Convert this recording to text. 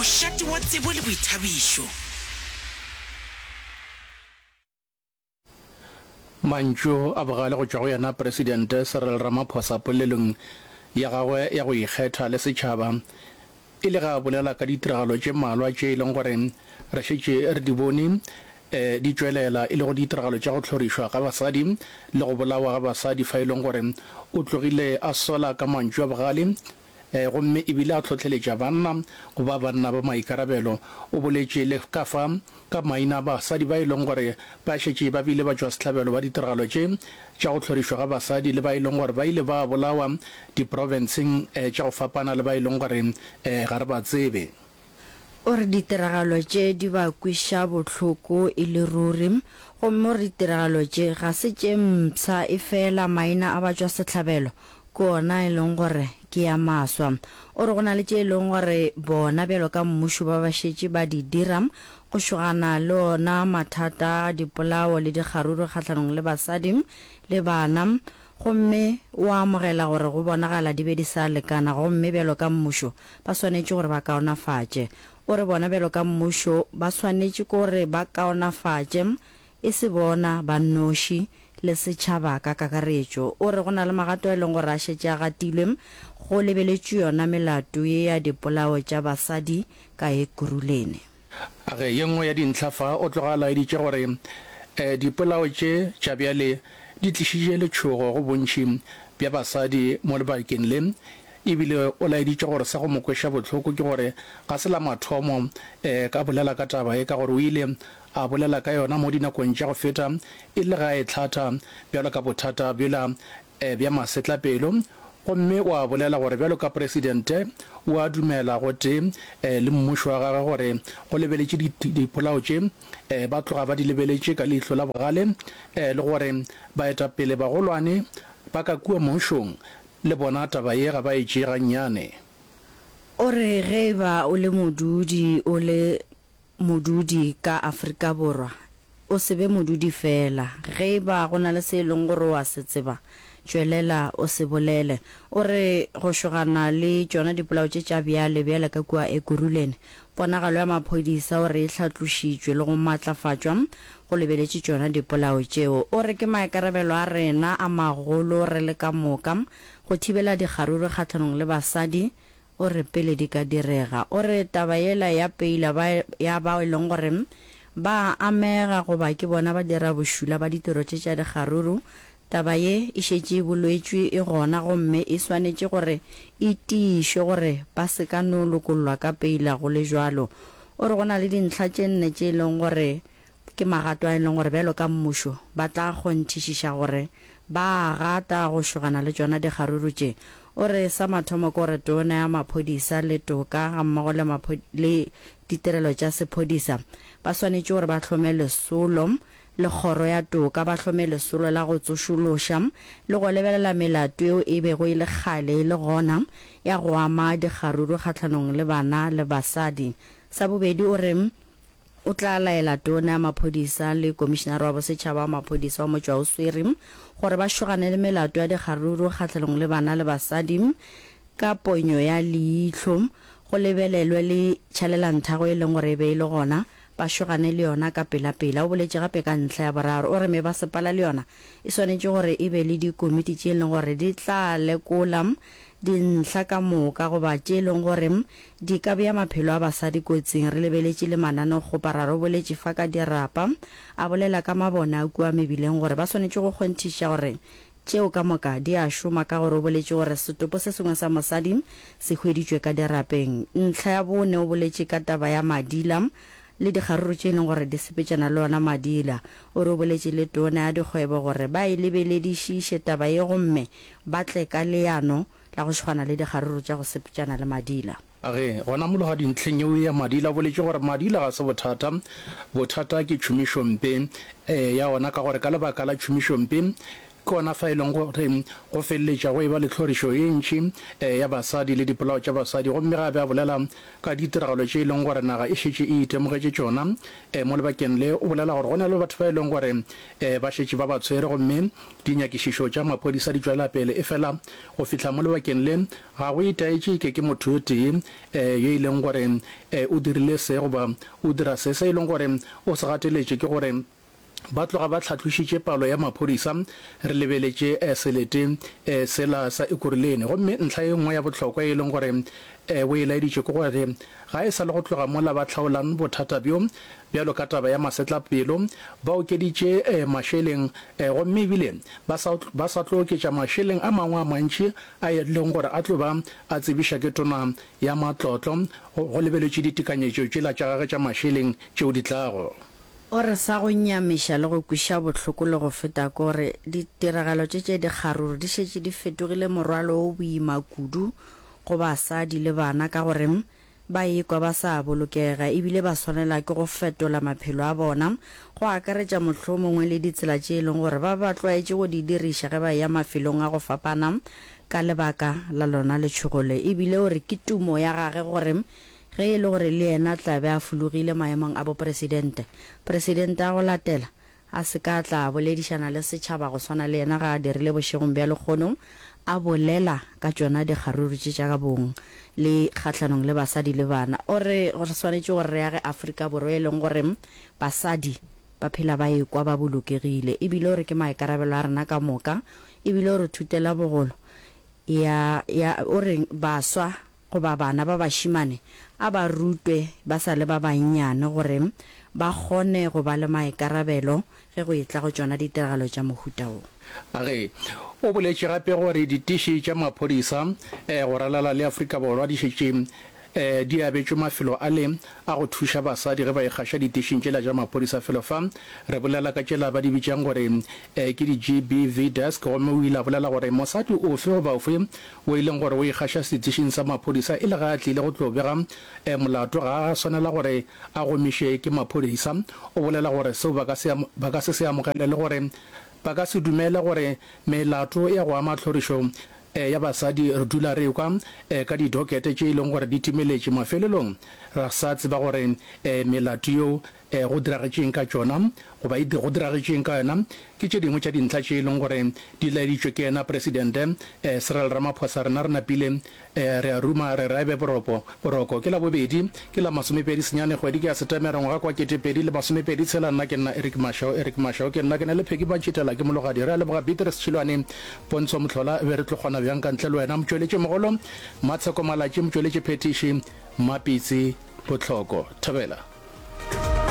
Mošate wa tsebo le boithabišo. Mantšu a bogale go tšwa go yena Presidente Cyril Ramaphosa polelong ya gagwe ya go ikgetha le setšhaba e le ge a bolela ka ditiragalo tše mmalwa tše e leng gore re šetše re di bone di tšwelela e lego ditiragalo tša go hlorišwa ga basadi le go bolawa ga basadi fa e leng gore o tlogile a sola ka mantšu a bogale gomme e bile a hlohleletša banna go ba banna ba maikarabelo. O boletše le ka fa ka maina a basadi ba e leng gore ba šetše ba bile batšwasehlabelo ba ditiragalo tše tša go hlorišwa ga basadi le ba e leng gore ba ile ba bolawa diprofenseng tša go fapana le ba e leng gore ga re ba tsebe. O re ditiragalo tše di ba kweša bohloko e le ruri, gomme o re ditiragalo tše ga se tše mpsha efela maina a batšwasehlabelo ke ona e leng gore ke a maswa. O re go na le tše e leng gore bona bjalo ka mmušo ba ba šetše ba di dira go šogana le ona mathata a dipolao le dikgaruru kgahlanong le basadi le bana gomme o a amogela gore go bonagala di be di sa lekana gomme bjalo ka mmušo ba swanetše gore ba kaonafatše. O re bona bjalo ka mmušo ba swanetše gore ba kaonafatše e se bona ba nnoši le setšhaba ka kakaretšo. O re go na le magato a e leng gore a šetše a gatilwe go lebeletšwe yona melato ye ya dipolao tša basadi ka Ekurhuleni. A re ye nngwe ya dintlha fa o tloga a laeditše gore dipolao tše tša bjale di tlišitše letšhogo go bontši bja basadi mo lebakeng le, ebile o laeditše gore sa go mo kweša bohloko ke gore ga se la mathomo ka bolela ka taba ye ka gore o ile a bolela ka yona mo dinakong tša go feta e le ge a e hlatha bjalo ka bothata bjola bja masetlapelo gomme o a bolela gore bjalo ka presidente o a dumela gotee le mmušo wa gagwe gore go lebeletše dipolao tše ba tloga ba di lebeletše ka leihlo la bogale le gore baetapele bagolwane ba ka kua mmušong le bona taba ye ga ba e tšee gannyane. O re ge e ba o le modudi o le modudi ka Afrika Borwa, o se be modudi feela. Ge e ba go na le se e leng gore o a se tseba, tšwelela o se bolele. O re go šogana le tšona dipolao tše tša bjale bjale ka kua Ekurhuleni, ponagalo ya maphodisa o re e hlatlošitšwe le go matlafatšwa go lebeletše tšona dipolao tšeo. O re ke maikarabelo a rena a magolo re le ka moka go thibela dikgaruru kgahlanong le basadi O re pele di ka direga. O re taba yela ya peila ba ya bao e leng gore ba a amega goba ke bona ba dira bošula ba ditiro tše tša dikgaruru, taba ye e šetše e bolwetšwe e gona gomme e swanetše gore e tiišwe gore ba se ka no lokollwa ka peila go le bjalo. O re go na le dintlha tše nne tše e leng gore Ke magato a e leng gore bjalo ka mmušo ba tla kgonthišiša gore ba a gata go šogana le tšona dikgaruru tše. O re sa mathomo ke gore Tona ya Maphodisa le Toka gammogo le le ditirelo tša sephodisa ba swanetše gore ba hlome lesolo le Kgoro ya Toka ba hlome lesolo la go tsošološa le go lebelela melato yeo e bego e le kgale e le gona ya go ama dikgaruru kgahlanong le bana le basadi. Sa bobedi o re O tla laela Tona ya Maphodisa le Komišinare wa Bosetšhaba wa Maphodisa wa Motšwaoswere gore ba šogane le melato ya dikgaruru kgahlanong le bana le basadi ka ponyo ya leihlo, go lebelelwe le tšhalelanthago e leng gore e be e le gona, ba šogane le yona ka pelapela. O boletše gape ka ntlha ya boraro, o re mebasepala le yona e swanetše gore e be le dikomiti tše e leng gore di tla lekola dintlha ka moka goba tše e leng gore di ka bea maphelo a basadi kotsing. Re lebeletše le mananeokgoparara, o boletše fa ka dirapa, a bolela ka mabone a kua mebileng gore ba swanetše go kgonthiša gore tšeo ka moka di a šoma ka gore o boletše gore setopo se sengwe sa mosadi se hweditšwe ka dirapeng. Ntlha ya bone o boletše ka taba ya madila le dikgaruru tše e leng gore di sepetšana le ona madila. O re o boletše le tona ya dikgwebo gore ba e lebeledišiše taba ye gomme ba tle ka leano la go šogana le dikgaruru tša go sepetšana le madila. Ge gona mologadi ntlheng yeo ya madila o boletše gore madila ga se bothata, bothata ke tšhomišompe ya ona ka gore ka lebaka la tšhomišompe. Ke gona fa e leng gore go feleletša go eba le tlhorišo ye ntši ya basadi le dipolao tša basadi gomme ge a be a bolela ka ditiragalo tše e leng gore naga e šetše e itemogetše tšona mo lebakeng le, o bolela gore go na le batho ba e leng gore ba šetše ba ba tshwere gomme dinyakišišo tša maphodisa di tšwela pele efela go fihla mo lebakeng le ga go itaetše eke ke motho yo tee yo e leng gore o dirile se goba o dira se. Se e leng gore o se gateletše ke gore Ba tloga ba hlatlošitše palo ya maphodisa re lebeletše selete sela sa Ekurhuleni. Gomme ntlha ye nngwe ya bohlokwa ye e leng gore o e laeditše ke gore ga e sa le go tloga mola ba hlaolang bothata bjo bjalo ka taba ya masetlapelo, ba okeditše mašeleng gomme ebile ba sa ba sa tlo oketša mašeleng a mangwe a mantši a e leng gore a tlo ba a tsebiša ke Tona ya Matlotlo go lebeletšwe ditekanyetšo tšela tša gagwe tša mašeleng tšeo di tlago. O re sa go nyamiša le go kweša bohloko le go feta ke gore ditiragalo tše tše dikgaruru di šetše di fetogile morwalo o boima kudu go basadi le bana ka gore ba ikwa ba sa bolokega ebile ba swanela ke go fetola maphelo a bona go akaretša mohlomongwe le ditsela tše e leng gore ba ba tlwaetše go di diriša ge ba eya mafelong a go fapana ka lebaka la lona letšhogo le. Ebile o re ke tumo ya gage gore Ge e le gore le yena tla be a fologile maemong a bopresidente, presidente a go latela a se ka tla a boledišana le setšhaba go swana le yena ga a dirile bošegong bja lekgono, a bolela ka tšona dikgaruru tše tša bong le kgahlanong le basadi le bana. O re re swanetše gore re age Afrika Borwa e leng gore basadi ba phela ba ekwa ba bolokegile ebile o re ke maikarabelo a rena ka moka ebile o re thutela bogolo ya, ya, o re baswa goba bana ba bašemane a ba rutwe ba sa le ba bannyane gore ba kgone go ba le maikarabelo ge go etla go tšona ditiragalo tša mohuta wo. A re o boletše gape gore ditiši tša maphodisa go ralala le Afrika Borwa di šetše di abetšwe mafelo ale a go thuša basadi ge ba ikgaša ditišing tšela tša maphodisa. Felo fa re bolela ka tšela ba di bitšang gore ke di-GBV desk gomme o ile a bolela gore mosadi ofe goba ofe wo e leng gore o ikgaša setišing sa maphodisa e le ge a tlile go tlo bega molato ga a swanela gore a gomišwe ke maphodisa. O bolela gore seo ba ka se ba ka se se amogele le gore ba ka se dumele gore melato ya go ama tlhorišo ya basadi re dula re ekwa ka didokete tše e leng gore di timeletše mafelelong ra sa tseba gore melato yeo Go diragetše eng ka tšona, goba e go diragetše eng ka yona? Ke tše dingwe tša dintlha tše e leng gore di laeditšwe ke yena Presidente Cyril Ramaphosa. Rena re napile re a ruma, re re a e be boropo, boroko. Ke Labobedi, ke la masomepedi senyane, kgwedi ke ya Setemere, ngwaga kwa 2026. Nna ke nna Eric Mashau, Eric Mashau ke nna, ke na le Peggy Mantšitela, ke Mologadi. Re a leboga Beatrice Tšhilwane, Pontsho Mohlola, be re tlo kgona bjang ka ntle le wena? Motšweletši mogolo, Matsheko Malatši, motšweletši phethiši, Mmapitsi Bohloko. Thobela.